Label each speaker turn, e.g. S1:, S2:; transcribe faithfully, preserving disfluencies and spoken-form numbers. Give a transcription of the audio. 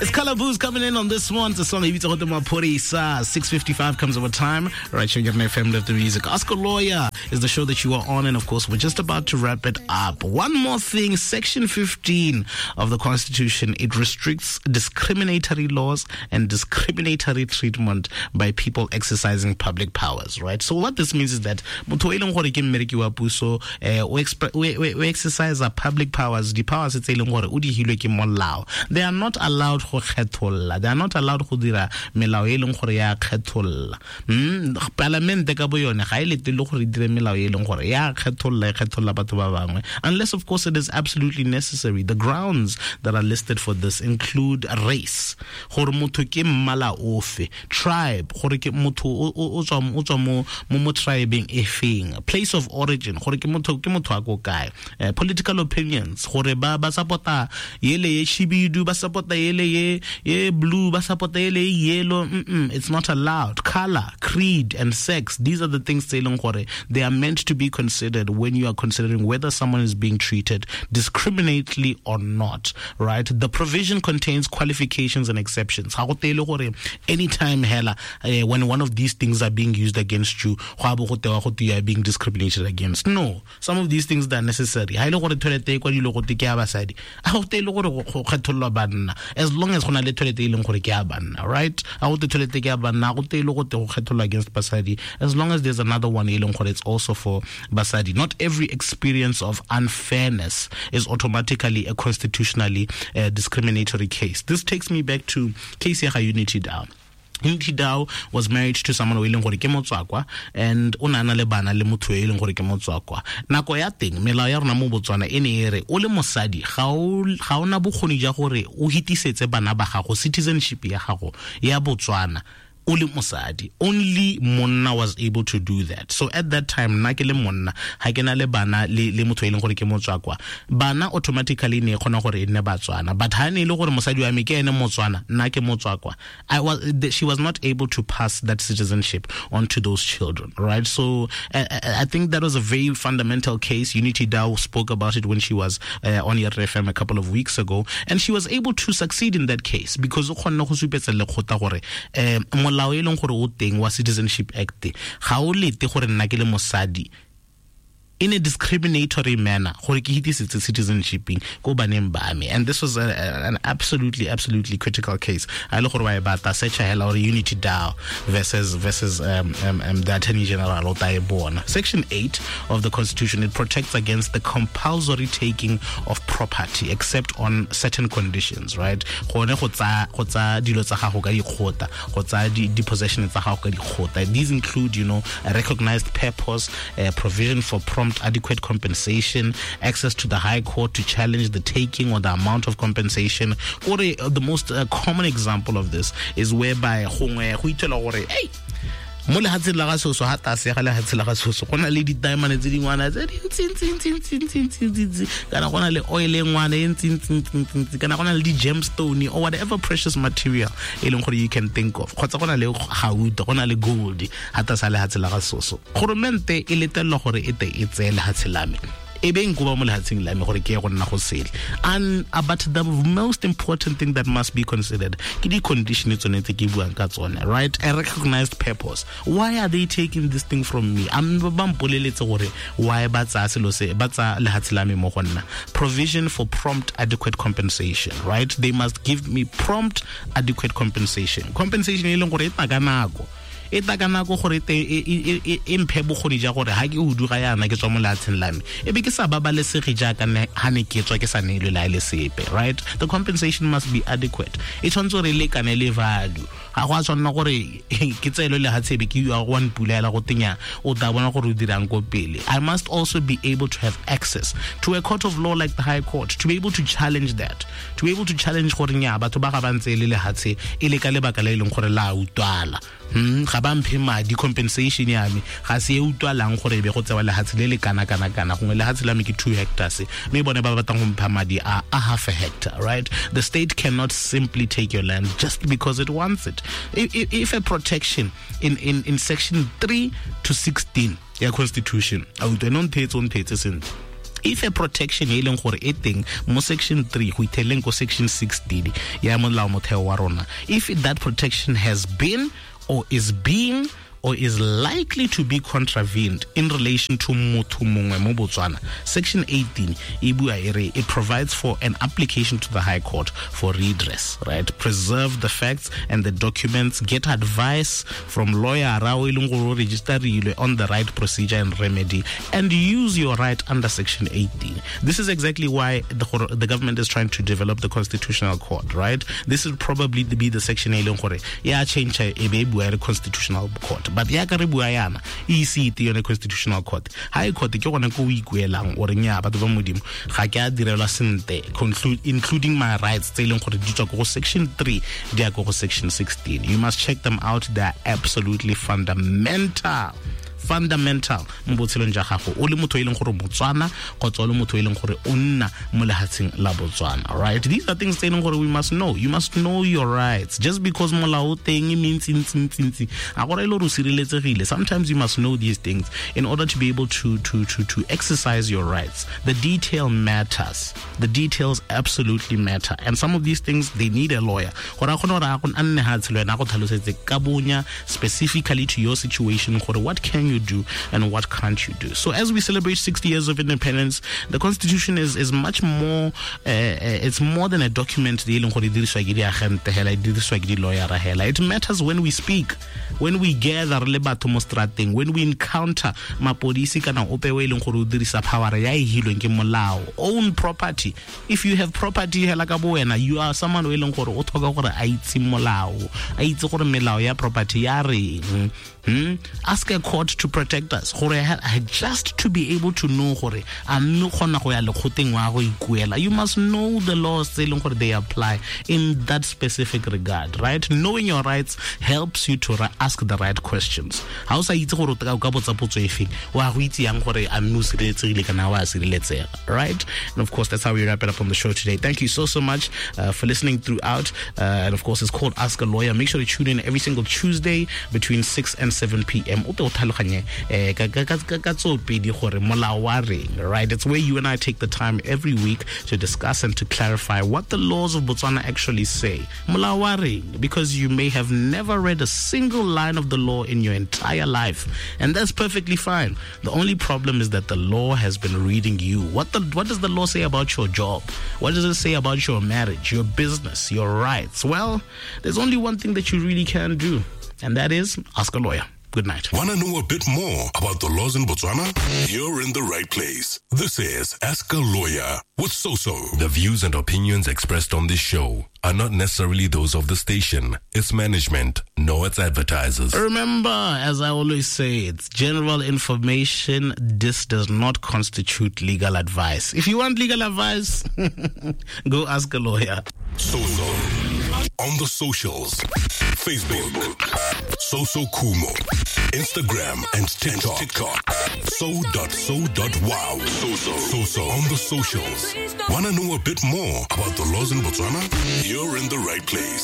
S1: It's Kalaboo's coming in on this one. The song e bitsa gote Maphodisa. six fifty-five comes over time. Right here on F M, Live the Music. Ask a Lawyer is the show that you are on, and of course, we're just about to wrap it up. One more thing, Section fifteen of the Constitution, it restricts discriminatory laws and discriminatory treatment by people exercising public powers, right? So what this means is that motho e leng gore ke mmereki wa puso, eh, o expre-, o, o, o exercise public powers, di powers tse e leng gore o di hilwe ke molao. They are not allowed go kgetholla. They are not allowed go dira melao e leng gore ya kgetholla. Mm, palamente ka bo yone ga e lete le gore e dire melao e leng gore ya kgetholla, e kgetholla batho ba bangwe, unless of course it is absolutely necessary. The grounds that are listed for this include race, gore motho ke mmala ofe, tribe, gore ke motho o, o, o tswa, o tswa mo, mo, mo tribeng e feng, place of origin, gore ke motho, ke motho a ko kae, eh, political opinions, gore ba, ba support-a yele ye shibidu, ba support-a yele ye, ye blue, ba support-a yele ye yellow. Mm-mm, it's not allowed. Color, creed, and sex, these are the things tse e leng gore they are meant to be considered when you are considering whether someone is being treated discriminately or not, right? The provision contains qualifications and exceptions. Ha go tele gore anytime hela, eh, when one of these things are being used against you, go a bo go tewa go te you are being discriminated against. No, some of these things that are necessary. Ha ile gore toilet e kwa dilo go te ke ya basadi, ha go tele gore go kgethollwa banna, as long as go na le toilet e leng gore ke ya banna, right? Ha go te toilet ke ya banna, ha go tele go te go kgethollwa against basadi, as long as there's another one e leng gore it's also for basadi. Not every experience of unfairness is automatically a constitutionally, uh, discriminatory case. This takes me back to case ya ga Unity Dow. Unity Dow was married to someone o e leng gore ke motswakwa, and o ne a na le bana le motho e leng gore ke motswakwa. Nako ya teng, melao ya rona mo Botswana e ne e re o le mosadi ga o, ga o na bokgoni jwa gore o hitisetse bana ba gago citizenship ya gago ya Botswana o le mosadi. Only monna was able to do that. So at that time, nna ke le monna, ha ke na le bana le, le motho e leng gore ke motswakwa, bana automatically ne e kgona gore e nne Batswana. But ha ne e le gore mosadi wa me ke ene Motswana, nna ke motswakwa, I was, the, she was not able to pass that citizenship onto those children, right? So I, I, I think that was a very fundamental case. Unity Dow spoke about it when she was, uh, on R F M a couple of weeks ago, and she was able to succeed in that case because o kgonne go supetsa lekgotla gore, eh, molao e leng gore o teng wa Citizenship Act ga o lete gore nna ke le mosadi in a discriminatory manner gore ke hitisetse citizenshiping ko baneng ba me. And this was a, a, an absolutely, absolutely critical case. A le gore wa e batla, search hela gore Unity Dow versus, versus, um, um, um, the Attorney General o tla e bona. Section eight of the Constitution, it protects against the compulsory taking of property except on certain conditions, right? Gone go tsa, go tsa dilo tsa gago ka dikgotla, go tsa di, di possession tsa gago ka dikgotla. These include, you know, a recognized purpose, a provision for prompt adequate compensation, access to the high court to challenge the taking or the amount of compensation. Or the most, uh, common example of this is whereby gongwe go ithela gore, hey, mo lehatsheng la ga soso, ha tlase ga lehatshe la ga soso, go na le di-diamond tse dingwana tse dintsi-ntsi-ntsi-ntsi-ntsi-ntsi, kana go na le oil e ngwana e ntsi-ntsi-ntsi-ntsi, kana go na le di-gemstone or whatever precious material e leng gore you can think of, kgotsa go na le gauta, go na le gold ha tlase ga lehatshe la ga soso. Goromente e letelelwa gore e te e tseye lehatshe la me, e be nko ba mo lehatsheng la me gore ke ye go nna go sele. And, uh, but the most important thing that must be considered ke di-condition tsone tse ke buang ka tsone, right? A recognized purpose. Why are they taking this thing from me? A mme ba mpoleletse gore why ba tsaya selo se, ba tsaya lehatshe la me mo go nna. Provision for prompt adequate compensation, right? They must give me prompt adequate compensation. Compensation e leng gore e tla ka nako. E tla ka nako gore e te, e, e, e, e mphe bokgoni ja gore ha ke huduga yana ke tswa mo lehatsheng la me, e be ke sa babalesege jaaka ne, ha ne ke tswa ke sa neelwe le ha e le sepe, right? The compensation must be adequate. E tshwanetse gore e lekane le value. Ga go a tshwanela gore ke tseelwe lehatshe be ke ya go wa mpulela go tenya, o tla bona gore o dirang ko pele. I must also be able to have access to a court of law like the High Court, to be able to challenge that, to be able to challenge gore nya batho ba ga ba ntse le lehatshe e le ka lebaka le e leng gore la utlwala. Hmm, ga ba mphe madi, compensation ya me ga se e utlwalang gore e be go tsewa lehatshe le le kana kana kana, gongwe lehatshe la me ke two hectares, mme bone ba batlang go mpha madi a, a half a hectare, right? The state cannot simply take your land just because it wants it. If, if, if a protection in, in, in section three to sixteen ya Constitution, a utlwe, no ntheetse, o ntheetse sentle. If a protection e leng gore e teng mo section three go itheleng ko section sixteen ya molao motheo wa rona, if that protection has been or is being or is likely to be contravened in relation to motho mongwe mo Botswana, section eighteen e bua e re it provides for an application to the High Court for redress, right? Preserve the facts and the documents, get advice from lawyer ra o e leng gore o registerilwe on the right procedure and remedy, and use your right under section eighteen. This is exactly why the, the government is trying to develop the Constitutional Court, right? This will probably be the section e leng gore ya change e be e bua re Constitutional Court. But ya ka re bua yana e ise ite yone Constitutional Court. High Court ke gone ko o ikuelang o re nya batho ba modimo ga ke a direlwa sentle, including my rights tse e leng gore di tswa ko go section three di ya ko go section sixteen. You must check them out. They are absolutely fundamental. Fundamental mo botshelong ja gago o le motho e leng gore Motswana kgotsa o le motho e leng gore o nna mo lehatsheng la Botswana, right? These are things tse e leng gore we must know. You must know your rights. Just because molao o teng e mentsi ntsi ntsi ntsi a gore e le gore o sireletsegile. Sometimes you must know these things in order to be able to to to to exercise your rights. The detail matters. The details absolutely matter. And some of these things, they need a lawyer. Gore a kgone gore a nne hatshe le wena a go tlhalosetse ka bonya specifically to your situation gore what can you do and what can't you do. So as we celebrate sixty years of independence, the Constitution is is much more uh, it's more than a document. It matters when we speak, when we gather le batho mo strateng, when we encounter mapodisi kana ope o e leng gore o dirisa power ya e hilweng ke molao. Own property. If you have property hela ka bo wena, you are someone o e leng gore o tlhoka gore a itse molao, a itse gore melao ya property ya reng. Hmm? Ask a court to protect us. Gore just to be able to know gore a mme kgona go ya lekgoteng wa go ikuela. You must know the laws tse leng gore they apply in that specific regard, right? Knowing your rights helps you to ask the right questions. Ha o sa itse gore o ka botsa potso efe, wa go itse yang gore a mme o sireletsegile kana wa sireletsega, right? And of course, that's how we wrap it up on the show today. Thank you so, so much uh, for listening throughout. Uh, and of course, it's called Ask a Lawyer. Make sure to tune in every single Tuesday between six and seven p.m. O tlhaloganye eh ka ka ka tsopedi gore molao wa reng, right? It's where you and I take the time every week to discuss and to clarify what the laws of Botswana actually say. Molao wa reng, because you may have never read a single line of the law in your entire life, and that's perfectly fine. The only problem is that the law has been reading you. What the what does the law say about your job? What does it say about your marriage, your business, your rights? Well, there's only one thing that you really can do, and that is ask a lawyer. Good night.
S2: Want to know a bit more about the laws in Botswana? You're in the right place. This is Ask a Lawyer with Soso.
S3: The views and opinions expressed on this show are not necessarily those of the station, its management, nor its advertisers.
S1: Remember, as I always say, it's general information. This does not constitute legal advice. If you want legal advice, go ask a lawyer.
S2: Soso. On the socials, Facebook, Soso Kumo, Instagram and TikTok, TikTok, so dot so dot wow. Soso, Soso on the socials. Want to know a bit more about the laws in Botswana? You're in the right place.